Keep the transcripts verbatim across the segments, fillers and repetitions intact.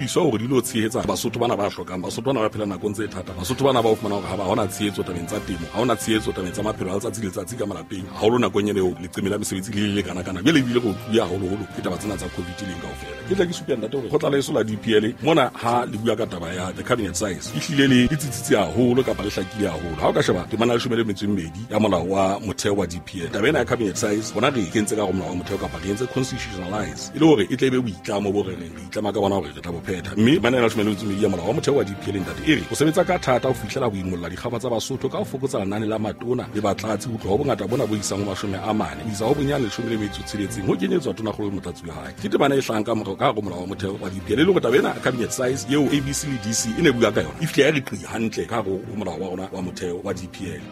Iso hore di lo tshehetsa Basotho bana ba hlokang, Basotho bana ba phela nakong tse thata, Basotho bana ba o fumana hore ha ba hona tshehetso tabeng tsa temo, ha hona tshehetso tabeng tsa maphelo a letsatsi le letsatsi ka malapeng, haholo nakong ena eo leqeme la mesebetsi le le kana kana. Jwale ebile re utlwile haholoholo ke taba tsena tsa COVID leng kaofela. Ke tla ke supe ntate hore kgotla leso la D P L mona ha le bua ka taba ya the cabinet size e hlile le le tsitsitse haholo kapa le hlakile haholo. Ha o ka sheba temana ya leshome le metso e mmedi ya molao wa motheo wa D P L, taba ena ya cabinet size bona re e kentse ka hare ho molao wa motheo kapa re entse constitutionalize e le hore e tle e be boitlamo bo re reng re itlama ka bona hore re tla bo phetha. Mme temana ya leshome le metso e mmedi ya molao wa motheo wa D P L ntate e re o sebetsa ka thata ho fihlela ho imolla dikgaba tsa Basotho ka ho fokotsa lenane la matona le batlatsi ho tloha ho bongata bona bo isang ho mashome a mane ho isa ho bonyane leshome le metso e tsheletseng ho kenyetswa tonakgolo le motlatsi wa hae. Ke temana e hlahang ka morao ka hare ho molao wa motheo wa D P L e le hore taba ena cabinet size eo A B C le D C e ne bua ka yona e fihle ya re qi hantle ka hare ho molao wa rona wa motheo wa D P L.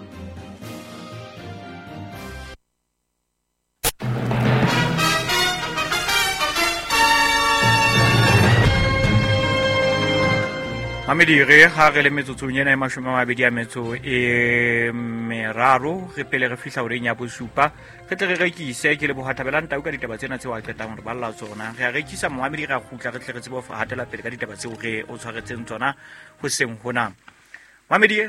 Mamedi re ha re le metsotsong ena e mashome a mabedi a metso e meraro re pele re fihla horeng ya bosupa re tle re rekise. Ke leboha Thabelang Tau ka ditaba tsena tseo a qetang hore balla tsona. Re a rekisa momamedi, re a kgutla re tle re tsebe ho hatela pele ka ditaba tseo re o tshwaretseng tsona hoseng hona. Mamedi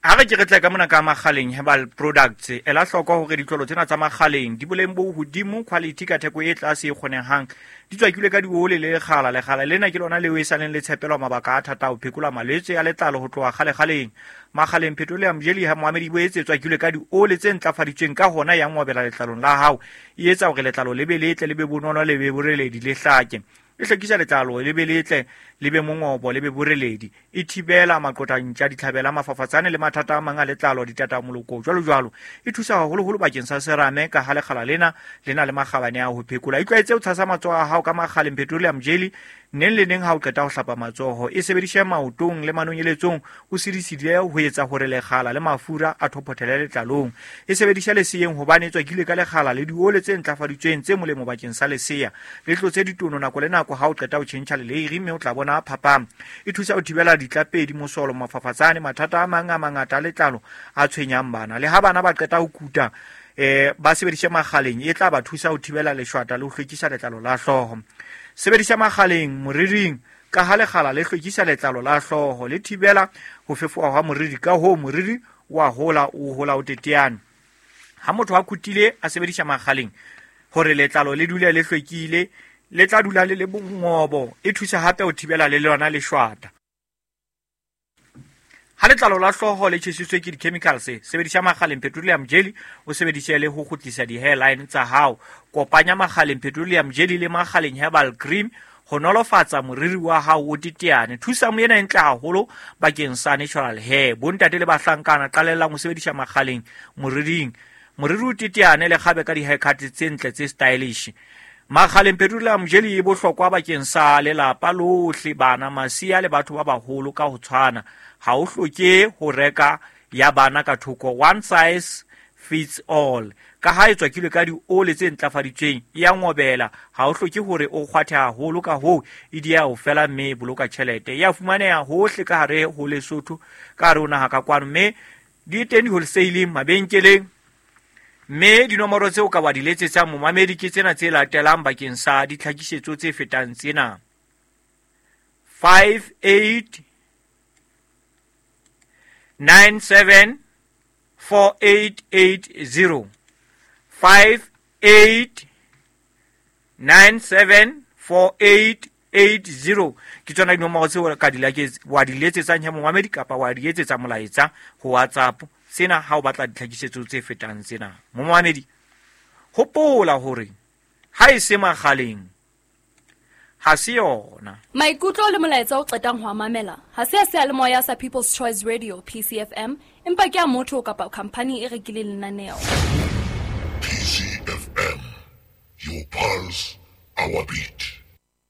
ha re ke re tle ka mona ka Makgaleng Herbal Products, ela hloko hore ditlolo tsena tsa Makgaleng di boleng bo hodimo, quality ka theko e tlase e kgonehang, di tswakilwe ka diole le lekgala. Lekgala lena ke lona leo e saleng le tshepelwa mabaka a thata ho phekola malwetse a letlalo ho tloha kgale-kgaleng. Makgaleng Petroleum Jelly ha moamedi bo etse tswakilwe ka diole tse ntlafaditsweng ka hona ya ngobela letlalong la hao, e etsa hore letlalo le be letle, le be bonolo, le be boreledi, le hlake. E hlwekisa letlalo le be letle, le be mongobo, le be boreledi. E thibela maqotantja, ditlhabela, mafafatsane le mathata a mang a letlalo, ditatamoloko jwalo jwalo. E thusa haholoholo bakeng sa serame ka ha lekgala lena le na le makgabane a ho phekola. Itlwaetse ho tshasa matsoho a hao ka Makgaleng Petroleum Jelly neng le neng ha o qeta ho hlapa matsoho. E sebedishe maotong le manonyeletsong o sidisidile ho etsa hore lekgala le mafura a thophothele letlalong. E sebedisha leseyeng hobane e tswakilwe ka lekgala le diole tse ntlafaditsweng tse molemo bakeng sa leseya. Le tlotse ditono nako le nako ha o qeta ho tjhentjha leleiri mme o tla bona phapang. E thusa ho thibela ditlapedi, mosolo, mafafatsane, mathata a mang a mangata a letlalo a tshwenyang bana. Le ha bana ba qeta ho kuta eh ba sebedishe Makgaleng e tla ba thusa ho thibela leshwata le ho hlwekisa letlalo la hlooho. Sebedisa Makgaleng moriring ka ha lekgala le hlwekisa letlalo la hlooho, le thibela ho fefoha hwa moriri, ka hoo moriri wa hola o hola o teteane. Ha motho a kutile a sebedisa Makgaleng hore letlalo le dule le hlwekile, le tla dula le le bongobo. E thusa hape ho thibela le lona leshwata. Ha letlalo la hlooho le tjhesitswe ke di-chemicals, sebedisa Makgaleng Petroleum Jelly o sebedise le ho kgutlisa di-hairline tsa hao. Kopanya Makgaleng Petroleum Jelly le Makgaleng Herbal Cream ho nolofatsa moriri wa hao o teteane. Thusa mo ena e ntle haholo bakeng sa natural hair. Bontate le bahlankana qalellang ho sebedisa Makgaleng moriring. Moriri o teteane le kgabe ka di-haircut tse ntle tse stylish. Makgaleng Petroleum Jelly e bohlokwa bakeng sa lelapa lohle, bana, masea le batho ba baholo ka ho tshwana. Ha o hloke ho reka ya bana ka thoko, one size fits all. Ka ha e tswakilwe ka diole tse ntlafaditsweng, e ya ngobela. Ha o hloke hore o kgwathe haholo, ka hoo e dieha ho fela mme e boloka tjhelete. E a fumaneha hohle ka hare ho Lesotho, ka hare ho naha ka kwano, mme di teng di-wholesale mabenkeleng. Mme dinomoro tseo ka wa di letsetsang momamedi ke tsena tse latelang bakeng sa ditlhakisetso tse fetang tsena: five eight nine seven four eight eight zero, five eight nine seven four eight eight zero. Ke tsona dinomoro tseo ka di wa di letsetsang he momamedi kapa wa di etsetsa molaetsa ho WhatsApp. Sena ha o batla ditlhakisetso tse fetang tsena. Momamedi, hopola hore ha e se Makgaleng ha se yona. Maikutlo le molaetsa o qetang ho mamela ha se a seyalemoya sa People's Choice Radio P C F M, empa ke a motho kapa company e rekileng lenaneo. P C F M, your pulse, our beat.